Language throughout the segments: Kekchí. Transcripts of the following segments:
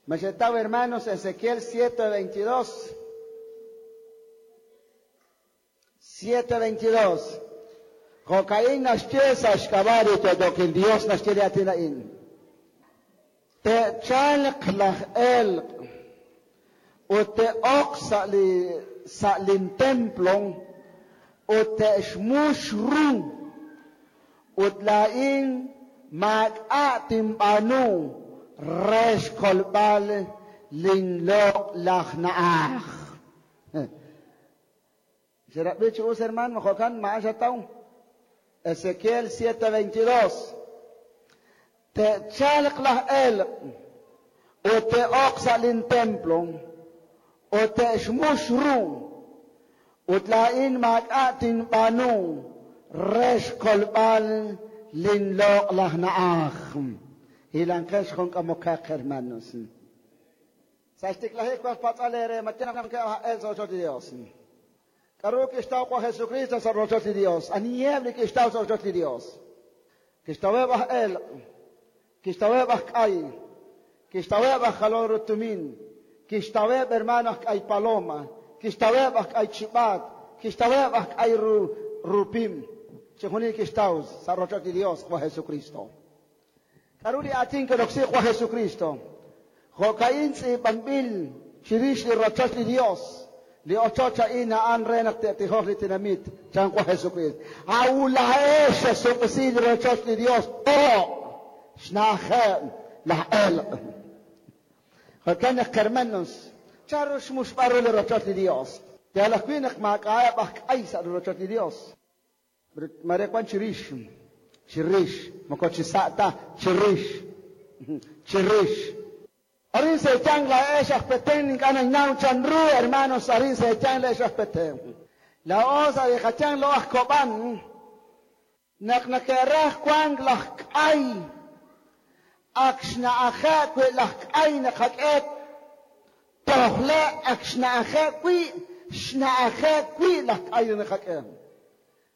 Machetaw hermanos Ezequiel 7:22. 7:22. Jo'ka'in naxye sa' xk'ab'a' li yo'yookil Dios naxye li aatin a'in. Te'chalq laj elq' ut te'oq sa' li sa' lin templo ut te'xmux ru ut laa'in maak'a' tinb'aanu re xkolb'al linloq'laj na'aj. Xerab'i chi us hermano, jo'kan ma'an xataw. Ezequiel 7:22. Te'chalq laj elq' ut te'oq sa' lin templo ut te'xmux ru ut laa'in maak'a' tinb'aanu re xkolb'al linloq'laj na'aj. Hilanqex jun k'amokaq hermanos. Sa' xtiklajik waj patz'al eere ma el sa' rochoch li Dios. K'aru kixtaw wa Jesucristo sa' rochoch li Dios. Aniheb' li kixtaw sa' rochoch li Dios. Kixtaweb' aj elq', kixtaweb' aj k'ay, kixtaweb' aj jalol ru tumin, kixtaweb' hermano aj k'ay paloma, kixtaweb' aj k'ay chib'aat, kixtaweb' aj k'ay rupim. Chixjunil kixtaw sa' rochoch li Dios wa Jesucristo. K'aru li aatin kiroksi wa Jesucristo. Jo'ka'in tz'iib'anb'il chirix li rochoch li Dios. Li ochoch a'in a'an re naq te'tijoq li tinamit chan wa Jesucristo. Awula'ex xesuk'isi li rochoch li Dios to' xna'ajeb' laj elq'. Jo'kan naq hermanos, chanru xmuxb'al ru li rochoch li Dios. Yal ajwi' naq maak'a'eb' aj k'ay sa' li rochoch li Dios. Mare wan chirix, chirix, moko chi sa' ta, chirix, chirix. Arin se'yang laa'ex aj Petén ink'a' nañnaw chanru hermanos arin se'yang la'ex aj Petén. Laa'o sa' li qachang lo aj Kob'an naq nake'raj wank laj k'ay ak xna'aje' wi' laj k'ay naqak'e tojle' ak xna'aje' wi' xna'aje' wi' laj k'ay naqak'e.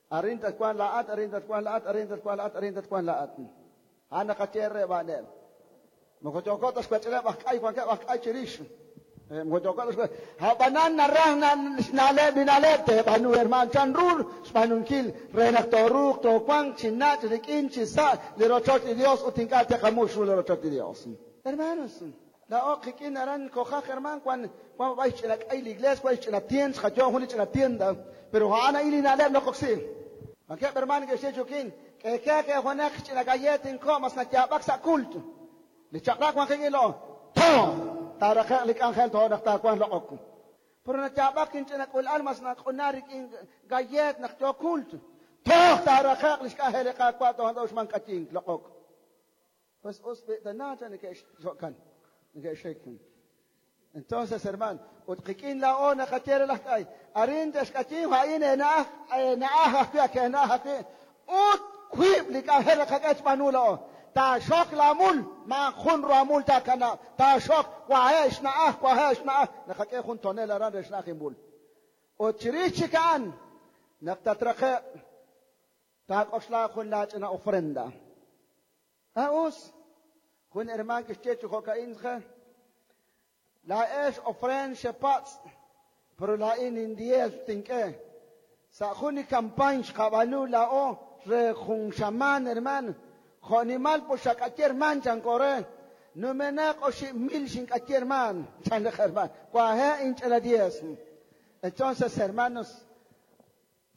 Arin tatwan la'at, arin tatwan la'at, arin tatwan la'at, arin tatwan la'at. A'an naqaye re b'a'neb'. Moko yooko ta xwech'ileb' aj k'ay wankeb' aj k'ay chirix. Moko yooko ta xwech'. Ab'anan naraj xna'leb' li na'leb' teeb'aanu herman chanru xb'aanunkil re naq tooruuq toowanq chi nach' rik'in chi sa' li rochoch li Dios ut ink'a' te'qamux ru li rochoch li Dios. Hermanos, laa'o qik'in aran kojaj herman wan wan b'ay xch'ina k'ay li iglesia, wan xch'ina tienda, xqayo' jun li ch'ina tienda, pero a'an a'in li na'leb' noqoksi. Wankeb' herman ke'xye chukin, k'eekee junaq xch'ina gallet inko' mas nayaab'ak sa' culto. Li chaq'rab' wan qik'in lo, to' taaraqe'q li k'anjel to' naq taawanq loq'ok. Pero nayaab'ak inch'ina k'ul'al mas naq'una rik'in gallet naq yo culto. Toj taaraqe'q li xk'anjel li Qaawa' toj na'uxman k'ayink loq'ok. Pues us b'i'tana chan neke'xjo'kan, neke'xik. Entonces, hermano, ut qik'in laa'o naqaye re laj k'ay, arin te'xk'ayin a'in eena'aj, eena'aj ajwi' ak eena'aj ajwi', ut wiib' li k'anjel naqak'e xb'aanu laa'o. Taaxok laamul, maajun ruamul taakanab'. Taaxok wahe' xna'aj, wahe' xna'aj. Naqak'e jun tonel aran re xna'aj inmul. Ut chirix chik a'an, naq tatraqe' taak'oxla jun laach'ina ofrenda. Us, jun herman kixye chi jo'ka'in je, laa'ex ofrend xepatz', pero laa'in indiez tink'e. Sa' jun li campañ xqab'aanu laa'o re jun xamaan herman, jo'nimal po xak'aye herman chankore, numenaq oxib' mil xink'aye herman, chan laj herman, wahe' inch'ela diez. Entonces, hermanos,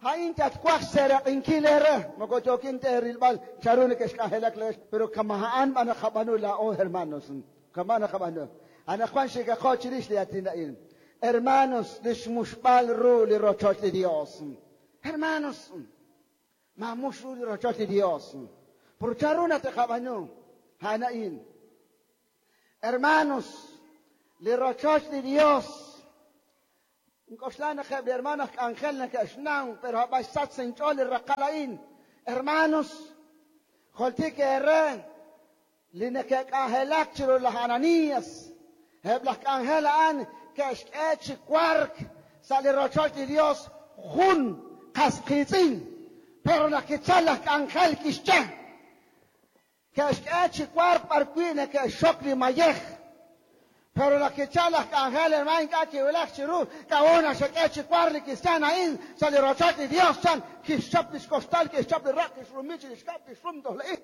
Ha'in tatwaj xseeraq'inkil eere, moko yookin teerilb'al chanru neke'xk'anjelak leex, pero kama a'an b'an naqab'aanu laa'o hermanos, kama naqab'aanu. Anaqwan xikaqo chirix li aatin a'in. Hermanos, li xmuxb'al ru li rochoch li Dios. Hermanos, maamux ru li rochoch li Dios. Pero chanru nateqab'aanu a'an a'in. Hermanos, li rochoch li Dios Nk'oxla naq eb' li hermano aj k'anjel neke'xnaw, pero ab'an xsach sa' inch'ool li raqal a'in. Hermanos, joltik eere li neke'k'anjelak chiru laj Ananías. Eb' laj k'anjel a'an ke'xk'e chi wark sa' li rochoch li Dios jun qas qiitz'in. Pero naq kichal laj k'anjel kixye, ke'xk'e chi wark b'ar wi' neke'xxok li mayej. Pero naq kichal laj k'anjel, hermano, ink'a' kiwulak chiru, k'a'ut naq xak'e chi wark li kristiaan a'in sa' li rochoch li Dios, chan, kixchap lix kostal, kixchap li raq', kixrumi chirix kab'l, kixrum toj la'in.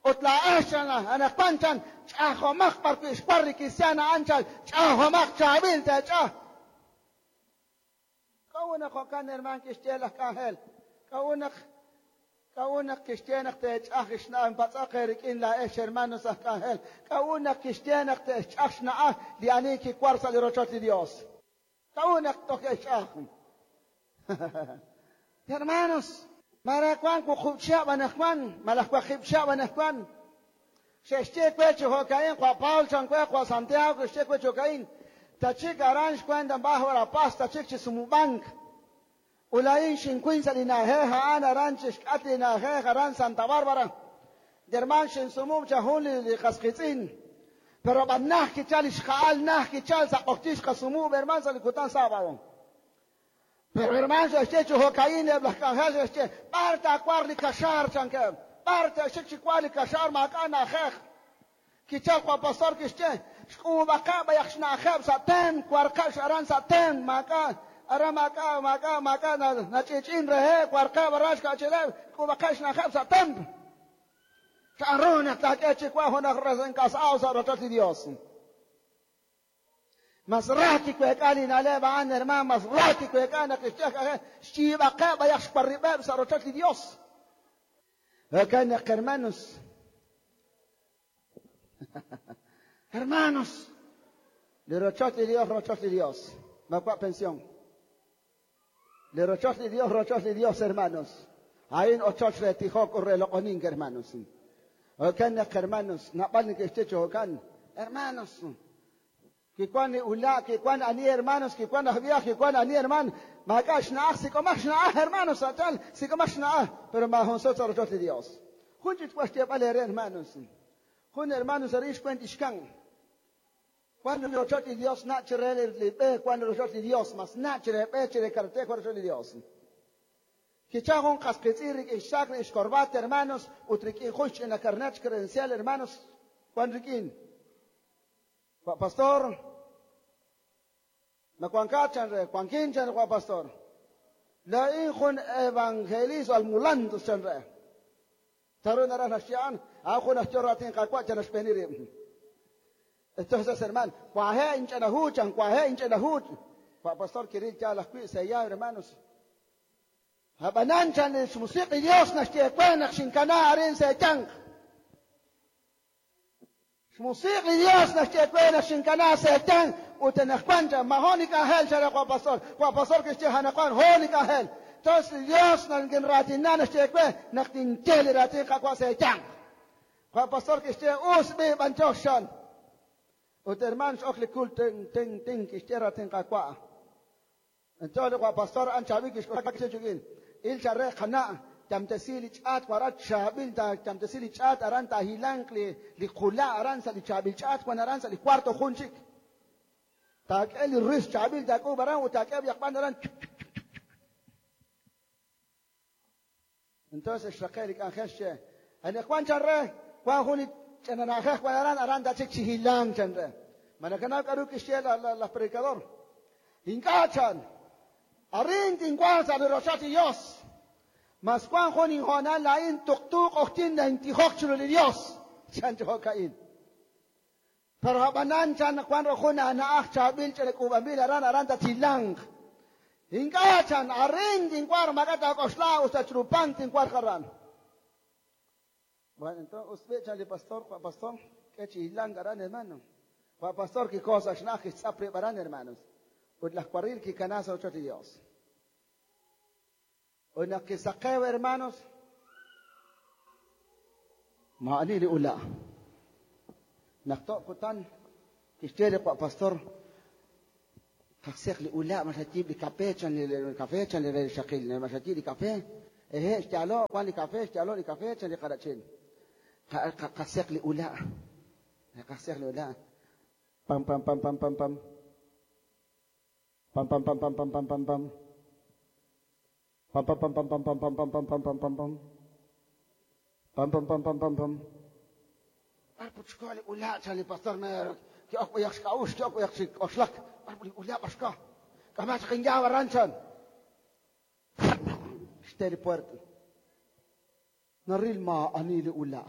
Ut laa'ex, chan, anaqwan, chan, ch'ajomaq b'arwi' xwar li kristiaan a'an, chan, ch'ajomaq chaab'il teech'aj. K'a'ut naq jo'kan, hermano, kixye laj k'anjel? K'a'ut naq K'a'ut naq kixye naq teech'aj xna'aj? Patz'aq eerik'in laa'ex, hermanos aj k'anjel. K'a'ut naq kixye naq te'xch'aj xna'aj li ani kiwar sa' li rochoch li Dios? K'a'ut naq toj ke'xch'aj? Hermanos, mare wank 8 chihab' anaqwan, malaj 8 chihab' anaqwan, xe'xye we chi jo'ka'in, Qawa' Paul chan we, Qawa' Santiago xe'xye we chi jo'ka'in, tachik aran xwent Baja Verapaz, tachik chi sumub'ank. Ut laa'in xinkuy sa' li na'ajej a'an aran chi xk'atq li na'ajej aran Santa Bárbara. Hermaan, xinsumub' cha jun li qas qiitz'in. Pero b'an naj kichal li xja'al, naj kichal sa' q'oqyink xqasumub', hermaan, sa' li kutan sábado. Pero hermaan, xe'xye chi jo'ka'in eb' laj k'anjel xe'xye, b'ar taawarq li kaxaar, chankeb'. B'ar te'xik chi wark li kaxaar, maak'a' na'ajej. Kichal Qawa' Pastor kixye, xk'uub'aqeb' b'ayaq xna'ajeb' sa' tem, warqeb' aran sa' tem, maak'a' aran maak'a' maak'a' maak'a' nach'ich'in reheb', warqeb' aran xka'chileb', xk'uub'aqeb' xna'ajeb' sa' tem. Chanru naq taak'e chi wa junaq resenkas'aw sa' rochoch li Dios? Mas ra kiweek'a li na'leb' a'an, hermaan, mas ra kiweek'a naq kixye xyiib'aqeb' b'ayaq xwarrib'eb' sa' rochoch li Dios. Jo'kan naq, hermanos, hermanos, li rochoch li Dios, rochoch li Dios. Maawa' pensión. Li rochoch li Dios, rochoch li Dios, hermanos. A'in ochoch re tijok ut re loq'onink, hermanos. Jo'kan naq, hermanos, naab'al neke'xye chi jo'kan, hermanos. Kiwan li ula', kiwan ani, hermanos, kiwan aj viaje, kiwan ani, hermano. Maak'a' xna'aj, sik'omaq xna'aj, hermanos, sachal, sik'omaq xna'aj, pero maajun sut sa' rochoch li Dios. Jun chik wa xyeeb'al eere, hermanos. Jun hermanos arin xwent ixkan. Wan li rochoch li Dios na' chire li b'e, wan li rochoch li Dios, mas na' chire b'e, chire carretera, wan rochoch li Dios. Kichal jun qas qiitz'in rik'in xsaak rik'in xkorbat, hermanos, ut rik'in jun xch'ina carnet credencial, hermanos, wan rik'in. Wa' pastor, ma wankat chan re, wankin chan re, wa' pastor. Laa'in jun evangelista almulantos chan re. Charu naraj naxye a'an, a'an jun aj yo raatin Qaawa' chan naxb'eeni rib'. Entonces, hermano, wahe' inch'ina hu chan, wahe' inch'ina hu. Wa' pastor kiril yaal ajwi' seya, hermanos. Ab'anan chan li xmusiq li Dios naxye we naq xinkana arin sa' eeyanq. Xmusiq li Dios naxye we naq xinkana sa' eeyanq ut anaqwan chan, ma jo' li k'anjel chan re Wa' pastor. Wa' pastor kixye anaqwan jo' li k'anjel. Entonces li Dios nakinraatina naxye we naq tinye li raatin Qaawa' sa' eeyanq. Wa' pastor kixye us b'i b'anyox chan. Ut hermano x'ok li kul ting ting ting kixye raatin Qaawa'. Entonces li Wa' pastor a'an chaab'il kixk'oxla kixye chik'in. Il chan re qana' yamtesi li ch'aat waral chaab'il ta yamtesi li ch'aat aran taahilanq li li qula' aran sa' li chaab'il ch'aat wan aran sa' li cuarto jun chik. Taak'e li ris chaab'il taak'uub' aran ut taak'e yaqb'an aran. Entonces xraqe' li k'anjel xye, anaqwan chan re, wan jun li ch'ina na'ajej wan aran, aran tachik chi hilank chan re. Ma nakanaw k'a'ru kixye laj predicador? Ink'a' chan, arin tinwanq sa' li rochoch li Dios. Mas wan jun inhoonal laa'in tuqtu q'oqyink nintijok chiru li Dios, chan chi jo'ka'in. Pero ab'anan chan naq wan jun aana'aj chaab'il ch'ina k'uub'anb'il aran, aran tathilanq. Ink'a' chan, arin tinwarq maak'a' taak'oxla us ta chiru pan tinwarq aran. Bueno, entonces us b'i' chan li pastor, Wa' pastor, k'e chi hilank aran, hermano. Wa' pastor kikoho sa' xna'aj kixtz'ap rib' aran, hermanos. Ut laj waril kikana sa' rochoch li Dios. Ut naq kisaqew, hermanos, maa'ani li ula'. Naq to' kutan kixye li Wa' pastor, qajseq li ula' ma xayiib' li kape chan li kafe chan li re xaqil, ma xayiib' li kafe. Ehe, xyaalo' wan li kafe, xyaalo' li kafe chan li qarachil. Qajseq li ula'. Qajseq li ula'. Pam, pam, pam, pam, pam, pam. Pam, pam, pam, pam, pam, pam, pam, pam. Pam, pam, pam, pam, pam, pam, pam, pam, pam, pam, pam, pam, pam. Pam, pam, pam, pam, pam, pam. Ar puchko li ula' chan li pastor mer. Ki'ok b'ayaq xk'a'uxl, ki'ok b'ayaq chi k'oxlak. B'ar li ula' b'ar xka. K'ama chaq inyaab' aran chan. Xte li puerta. Naril maa'ani li ula'.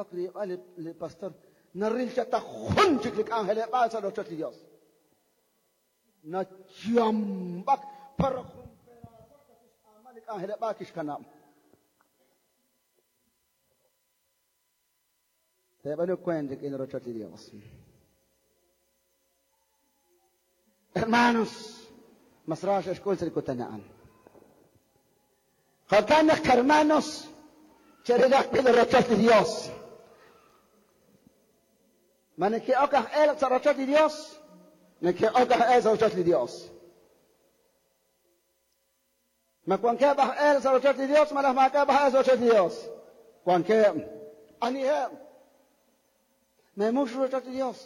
Ok riib'al li pastor. Naril chaq ta jun chik li k'anjeleb'aal sa' rochoch li Dios. Nachamb'ak pero jun peraasaq kixk'aama li k'anjeleb'aal kixkanab'. Teeb'aanu kwent rik'in rochoch li Dios. Hermanos, mas ra xe'xk'ul sa' li kutan a'an. Jo'kan naq, hermanos, cherilaq b'i' li rochoch li Dios. Ma neke'ok aj elq sa' rochoch li Dios? Neke'ok aj elq sa' rochoch li Dios. Ma wankeb' aj elq sa' rochoch li Dios malaj maak'a'eb' aj elq sa' rochoch li Dios? Wankeb'. Aniheb'? Meemux rochoch li Dios.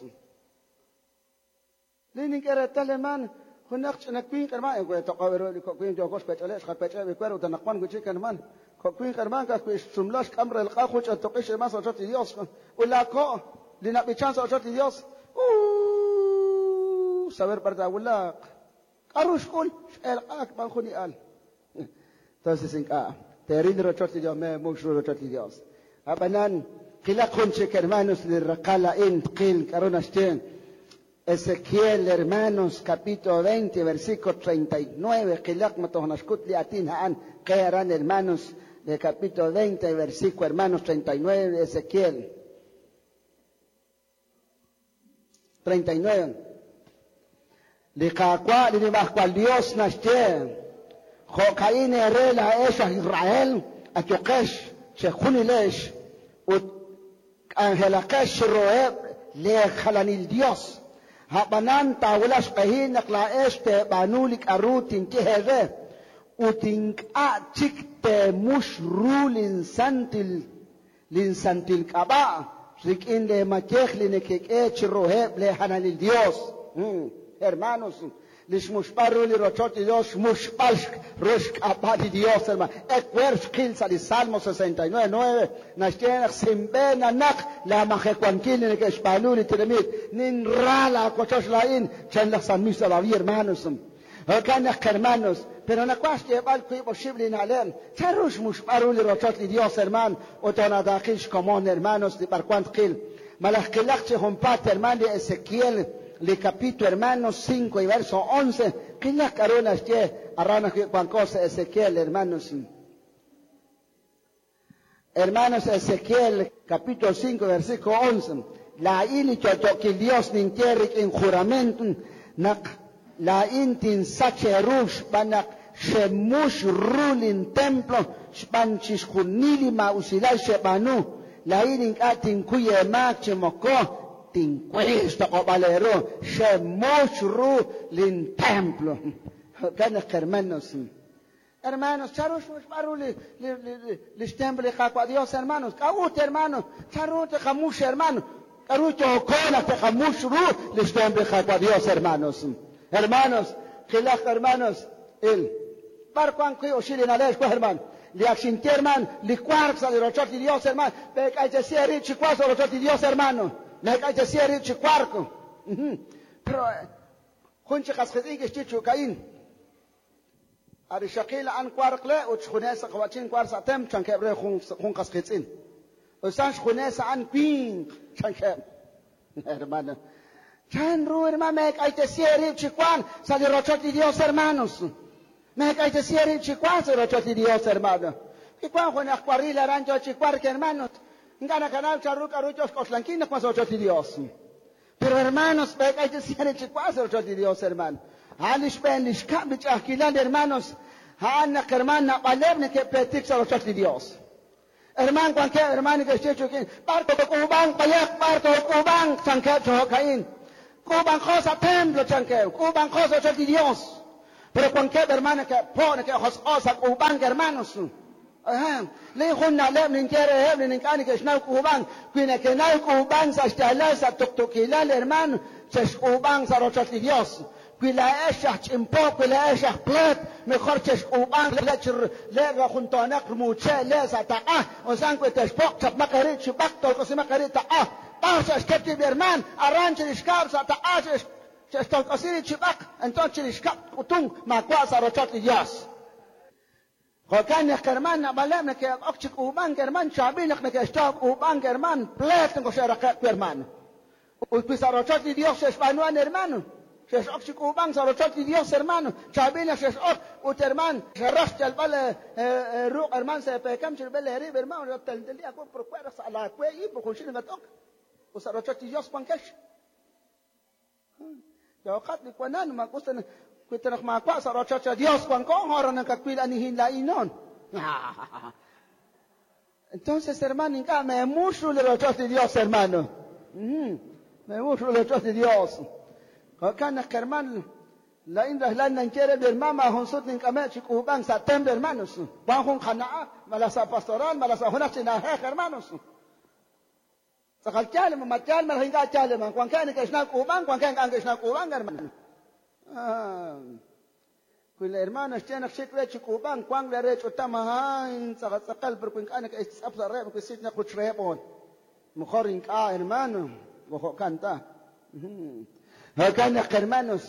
Li nink'e reetal, hermano, junaq ch'ina winq, hermano, we toq'ob' ru li kok' winq yooko xwech'oleb', xqawech'eb' li wer ut anaqwan wi' chik, hermano. Kok' winq, hermano, ka'ajwi' xsumla xk'am relq'a jun ch'ina tuq'ix, hermano, sa' rochoch li Dios. Ut laako' li nab'ichan sa' rochoch li Dios, saber b'ar taawulaq. K'aru xk'ul? X'elq'aak b'an jun li al. Entonces ink'a' teeril rochoch li Dios, meemux ru rochoch li Dios. Ab'anan, qilaq jun chik, hermanos, li raqal a'in tqil k'aru naxye Ezequiel, hermanos, capítulo 20, versículo 39, qilaq ma toj naxkut li aatin a'an qe aran, hermanos, de capítulo 20, versículo, hermanos, 39, Ezequiel. 39. Li Qaawa' li Nimajwal Yos naxye, Jo'ka'in eere laa'ex aj Israel, ayuqex chejunilex ut k'anjelaqex chiruheb' leejalanil yos. A'b'anan taawulaq xq'ehil naq laa'ex teeb'aanu li k'aru tinye eere, ut ink'a' chik teemux ru linsantil linsantil k'ab'a' rik'in leemayej li nekek'e chiruheb' leejalanil yos. Hermanos, li xmuxb'al ru li rochoch li Dios, xmuxb'al ru xk'ab'a' li Dios, hermano. Ewer xqil sa' li Salmo 69:9, naxye naq sinb'een nanaq laamajewankil li neke'xb'aanu li tenamit. Ninra laawochoch laa'in, chan laj salmista David, hermanos. Jo'kan naq, hermanos, pero nawaj xyeeb'al wiib' oxib' li na'leb'. Chanru xmuxb'al ru li rochoch li Dios, hermano, ut toonataaqil xkomon, hermanos, li b'arwan tqil. Malaj qilaq chi junpaat, hermano, li Ezequiel, li capítulo, hermanos, 5 y verso 11. Qilaq k'aru naxye aran ajwi' wanko sa' Ezequiel, hermanos. Hermanos, Ezequiel, capítulo 5, versículo 11. Laa'in li yo'yo'kil Dios ninye rik'in juramento naq laa'in tinsach eeru xb'aan naq xemux ru lintemplo xb'aan chixjunil li maa'usilal xeb'aanu. Laa'in ink'a' tinkuy eemaak chi moko tinkuy xtoq'ob'al eeru. Xemux ru lintemplo. Jo'kan naq, hermanos, Hermanos, chanru xmuxb'al ru li li li li xtemplo li Qaawa' Dios, hermanos. K'a'ut, hermanos, chanru teqamux, hermano. K'aru yooko naq teqamux ru li xtemplo li Qaawa' Dios, hermanos. Hermanos, qilaq, hermanos, il b'ar wan wi' oxib' li na'leb' xwa, hermano. Li ak xinye, hermano, li wark sa' li rochoch li Dios, hermano. Meek'aytesi eerib' chi wark sa' rochoch li Dios, hermano. Meek'aytesi eerib' chi wark. Pero jun chi qas qiitz'in kixye chu'ka'in. Arixaqil a'an wark le ut xjunes sa' qawa'chin wark sa' tem chankeb' re jun qas qiitz'in. Usan xjunes a'an winq chankeb'. Hermano. Chanru, hermano, meek'aytesi eerib' chi wank sa' li rochoch li Dios, hermanos. Meek'aytesi eerib' chi wank sa' li rochoch li Dios, hermano. Kiwank jun aj waril aran yo chi wark, hermanos. Ink'a' nakanaw chanru k'aru yo xk'oxlankil naq wan sa' rochoch li Dios. Pero, hermanos, meek'aytesi eerib' chi wank sa' rochoch li Dios, hermano. A'an li xb'een li xkab' li ch'a'ajkilal, hermanos. A'an naq, hermano, naab'aleb' neke'pleetik sa' rochoch li Dios. Hermano, wankeb', hermano, neke'xye chukin, b'ar took'uub'anq bayaq, b'ar took'uub'anq, chankeb' chi jo'ka'in. K'uub'anqo sa' templo, chankeb', k'uub'anqo sa' rochoch li Dios. Pero wankeb', hermano, neke'po', neke'josq'o sa' k'uub'ank, hermanos. Li jun na'leb' ninye reheb' li ink'a' neke'xnaw k'uub'ank. Wi neke'naw k'uub'ank sa' xyaalal, sa' tuqtuukilal, hermano, chexk'uub'anq sa' rochoch li Dios. Wi laa'ex aj ch'impo, wi laa'ex aj pleet, mejor chexk'uub'anq le' chi le' rajuntoonaq rmuuche' le' sa' taq'a, osan wi texpoq' chapmaq eerib' chi b'aq, tolk'osimaq eerib' taq'a. B'ar xe'xket rib' li hermaan, aran chirix kab'l sa' taq'a xe'xtolk'osi rib' chi b'aq, entonces chirix kab'l k'utunk maawa' sa' rochoch li Dios. Jo'kan naq hermaan, naab'aleb' neke'ok chi k'uub'ank hermaan, chaab'il naq neke'xtaw k'uub'ank hermaan, pleet moko xe'raqe'k wi hermaan. Ut wi sa' rochoch li Dios xe'xb'aanu a'an hermano, xe'x'ok chi k'uub'ank sa' rochoch li Dios hermano, chaab'il naq xe'x'ok ut hermaan, xeraj xyalb'al ruq' hermaan sa' eepeekam chirib'il eerib' hermano, telteli aawib' pero we' raj sa' laawe ib' junxil nakat'ok ut sa' rochoch li Dios wankex. Yooqat li wanan, ma us ta wi ta naq maawa' sa' rochoch li Dios wanko, ahora nakawil anihin laa'in noon. Entonces, hermano, ink'a' meemux ru li rochoch li Dios, hermano. Meemux ru li rochoch li Dios. Jo'kan naq, hermano, laa'in rajlal ninye re li hermano, maajun sut nink'ame' chi k'uub'ank sa' templo, hermanos. Wan jun qana'aj, malaj sa' pastoral, malaj sa' junaq chi na'ajej, hermanos. Tz'aqal yaal, ma yaal malaj ink'a' yaal, hermano. Wankeb' neke'xnaw k'uub'ank, wankeb' ink'a' neke'xnaw k'uub'ank, hermano. Wi li hermano xye naq xik re chi k'uub'ank, wank le re ch'utam, ay, tz'aqal tz'aqal, pero wi ink'a' neke'xtz'ap sa' reheb', wi sik naq juch reheb' on. Mejor ink'a', hermano, moko jo'kan ta. Jo'kan naq, hermanos,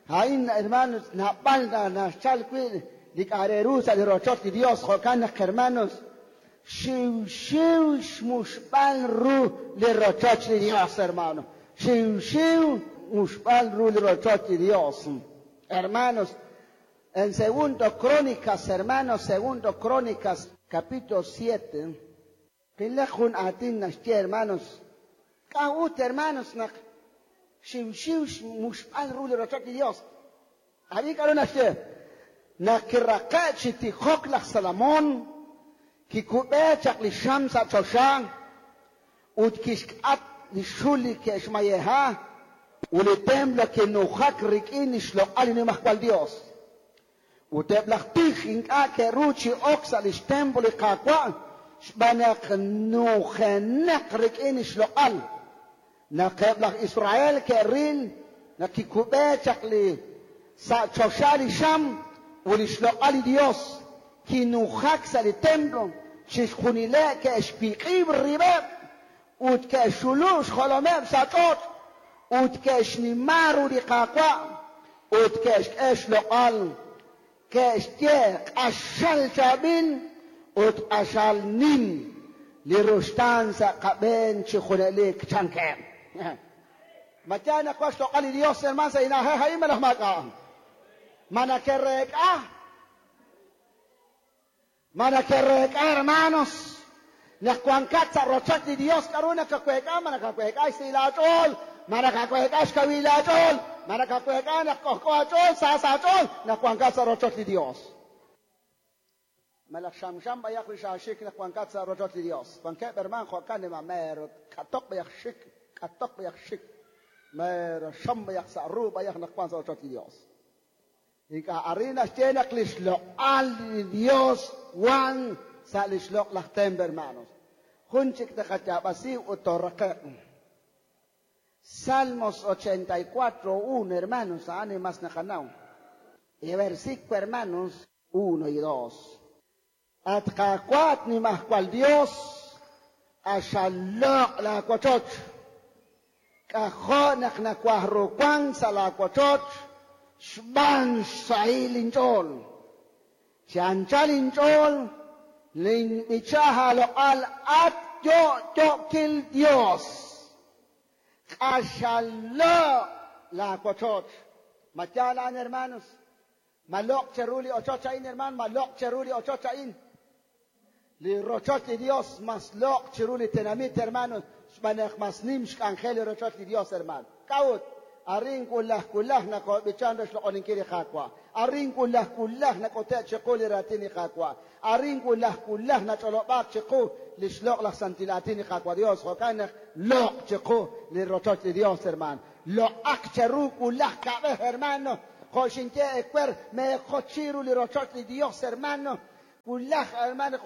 a'in, hermanos, naab'al naxchal wi' li k'a' re ru sa' li rochoch li Dios, jo'kan naq, hermanos, xiwxiw xmuxb'al ru li rochoch li Dios, hermano. Xiwxiw muxb'al ru li rochoch li Dios. Hermanos, en Segundo Crónicas, hermanos, Segundo Crónicas, capítulo 7, qilaq jun aatin naxye, hermanos, k'a'ut, hermanos, naq xiwxiw xmuxb'al ru li rochoch li Dios. Ab'i k'a'ru naxye, naq kiraqe' chi tijok laj Salomón, kikub'e chaq li xam sa' choxa ut kixk'at li xul li ke'xmayeja ut li templo kinujak rik'in li xloq'al li Nimajwal Dios. Ut eb' laj tij ink'a' ke'ru chi ok sa' lix templo li Qaawa' xb'aan naq nujenaq rik'in li xloq'al. Naq eb' laj Israel ke'ril naq kikub'e chaq li sa' choxa li xam ut li xloq'al li Dios kinujak sa' li templo, chixjunileb' ke'xwiq'ib' rib'eb' ut ke'xxulu' xjolomeb' sa' ch'och' ut ke'xnima ru li Qaawa' ut ke'xk'e xloq'al, ke'xye q'axal chaab'il ut q'axal nim li ruxtaan sa' qab'een chi junelik chankeb'. Ma yaal naq wan xloq'al li Dios, hermano, sa' li na'ajej a'in malaj maak'a'? Ma nake'reek'a? Ma nake'reek'a, hermanos? Naq wankat sa' rochoch li Dios, k'a'ru nakaweek'a? Ma nakaweek'a xsahil aach'ool? Ma nakaweek'a xkawil aach'ool? Ma nakaweek'a naq k'ojk'o aach'ool, sa sa' aach'ool naq wankat sa' rochoch li Dios? Malaj xamxam b'ayaq li xaaxik naq wankat sa' rochoch li Dios. Wankeb' herman jo'kan li mer k'atoq b'ayaq xik, k'atoq b'ayaq xik, mer xam b'ayaq sa' ru b'ayaq naq wan sa' rochoch li Dios. Ink'a' arin naxye naq li xloq'al li Dios wan sa' li xloq'laj templo, hermanos. Jun chik taqayaab'asi ut tooraqe'q. Salmos 84, 1, hermanos, a'an li mas naqanaw. Y versículo, hermanos, 1 y 2. At Qaawa' at Nimajwal Dios, q'axal loq' laawochoch. K'ajo' naq nawaj ru wank sa' laawochoch xb'aan xsahil inch'ool. Chi anchal inch'ool ninb'icha aaloq'al at yo'yo'kil Dios. Q'axal loq' laawochoch. Ma yaal a'an, hermanos? Ma loq' cheru li ochoch a'in, hermano? Ma loq' cheru li ochoch a'in? Li rochoch li Dios mas loq' chiru li tenamit, hermanos, xb'aan naq mas nim xk'anjel li rochoch li Dios, hermano. K'a'ut? Arin wulaj wulaj nakob'ichan re xloq'oninkil li Qaawa'. Arin wulaj wulaj nak'ute' chiqu li raatin li Qaawa'. Arin wulaj wulaj nach'olob'aaq chiqu li xloq' laj santil aatin li Qaawa' Dios. Jo'kan naq loq' chiqu li rochoch li Dios, hermano. Loq'aq cheru wulaj kab'ej, hermano. Jo' xinye ewer meejochi ru li rochoch li Dios, hermano. Wulaj, hermano,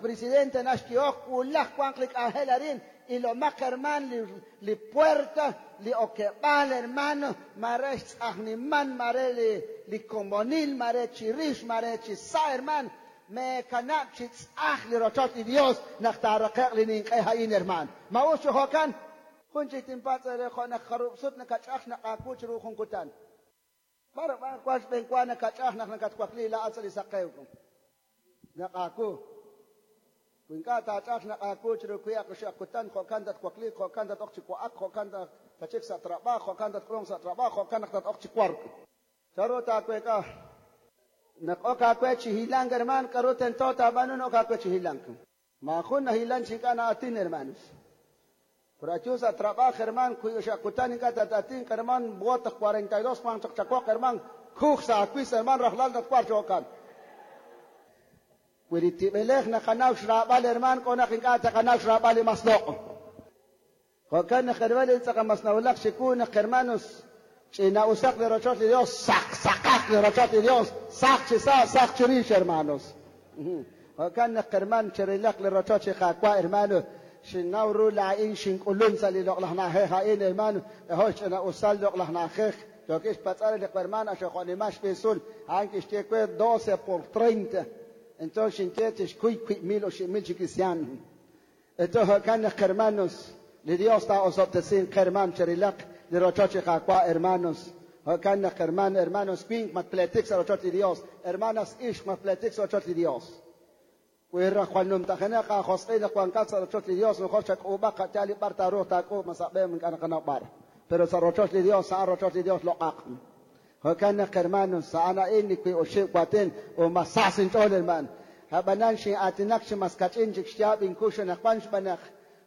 presidente naxkihok, wulaj wanq li k'anjel arin. Ilomaq, hermaan, li puerta, li okeb'aal, hermano, mare xtz'ajniman, mare li komonil, mare chirix, mare chi sa', hermaan. Meekanab' chi tz'aj li rochoch li Dios naq taaraqe'q li ninq'e a'in, hermaan. Ma us chi jo'kan? Jun chik tinpatz' eere jo' naq jarub' sut nakach'aj xnaq' aawu chiru jun kutan. B'ar b'ar wan xb'een wa nakach'aj naq nakatwakli laa'at sa' li saqew. Naq aawu. Wi ink'a' taach'aj xnaq' aawu chiru wiib' oxib' kutan, jo'kan tatwakliiq, jo'kan tat-ok chi wa'ak, jo'kan tachik sa' trabajo, jo'kan tatk'ulunq sa' trabajo, jo'kan naq tat-ok chi wark. Chanru taaweek'a? Naq ok aawe chi hilank, hermaan, k'aru tento taab'aanu naq ok aawe chi hilank? Maajun nahilan chi ink'a' na'atin, hermanos. Pero ayu sa' trabajo, hermaan, wiib' oxib' kutan ink'a' tat-atinq, hermaan, bota 42 wanq chaq chawoq, hermaan, kuj sa' aawis, hermaan, rajlal tatwarq chi jo'kan. Wi li tib'elej naqanaw xraab'al, hermaan, k'o naq ink'a' taqanaw xraab'al li mas loq'. Jo'kan naq, hermaan, li tz'aqal mas nawulak chiwu naq, hermanos, ch'ina'usaq li rochoch li Dios, saq saqaq li rochoch li Dios, saq chi sa', saq chirix, hermanos. Jo'kan naq, hermaan, chirilaq li rochoch li Qaawa', hermano, xinnaw ru laa'in xink'ulun sa' li loq'laj na'ajej a'in, hermano, k'ajo' xch'ina'usal loq'laj na'ajej. Yookin xpatz'al li hermano axojo'nimal xb'isul, a'an kixye we 12 por 30. Entonces xinye tixkuy 1000 o 1000 chi cristiano. Entonces jo'kan naq, hermanos, li Dios taa'osob'tesinq, hermaan, chirilaq li rochoch li Qaawa', hermanos. Jo'kan naq, hermano, hermanos, winq matpletik sa' rochoch li Dios, hermanas ixq matpletik sa' rochoch li Dios. Wi raj jwal numtajenaq aajosq'il naq wankat sa' rochoch li Dios, mejor chak'uub'aq qa'yaal li b'ar taaruuq taak'uub' ma sa' b'e ink'a' naqanaw b'ar. Pero sa' rochoch li Dios, a'an rochoch li Dios loq'aq. Jo'kan naq, hermanos, a'an a'in li wiib' oxib' waatin u mas sa sinch'ool, hermaan. Ab'anan xin'aatinak chi mas kach'in chik xyaab' inkux anaqwan xb'aan naq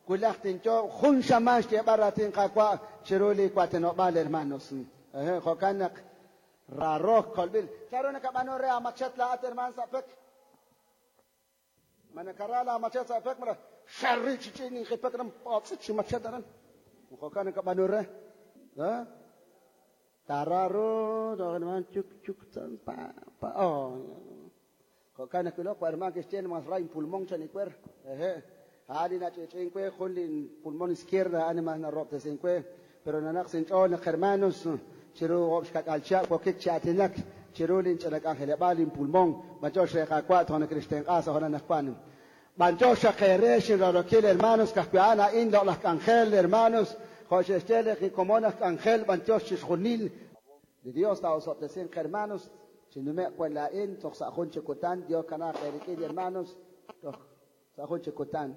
wulaj tinyo jun xamaan xyeeb'al raatin Qaawa' chiru li waatinob'aal, hermanos. Jo'kan naq rarook kolb'il. Chanru nakab'aanu re aamachet laa'at, hermaan, sa' pek? Ma nakara laamachet sa' pek malaj xerri chi ch'in inqipek ran p'otz'it chi machet aran? Jo'kan nakab'aanu re. Tararu, hermaan, chuk chuk pa pa. Oh. Jo'kan naq wilok, hermaan, kixye mas ra inpulmón chan iwer. A'an li nach'ich'in we jun li pulmón izquierda, a'an mas narob'tesin we. Pero nanaq sinch'ool naq, hermanos, chiru oob' xkak'al chihab' wokik chi aatinak chiru linch'ina k'anjeleb'aal inpulmón. B'antiox re Qaawa' toj nakrixtenq'a sa' jo'nan naqwan. B'antiox xaq eere xinrarokil, hermanos, ka'ajwi' a'an a'in loq'laj k'anjel, hermanos, jo' xe'xye li komon aj k'anjel, b'antiox chixjunil. Li Dios taa'osob'tesinq, hermanos, chinume'q wan laa'in toj sa' jun chi kutan, Dios kanaaq eerik'in, hermanos, toj sa' jun chi kutan.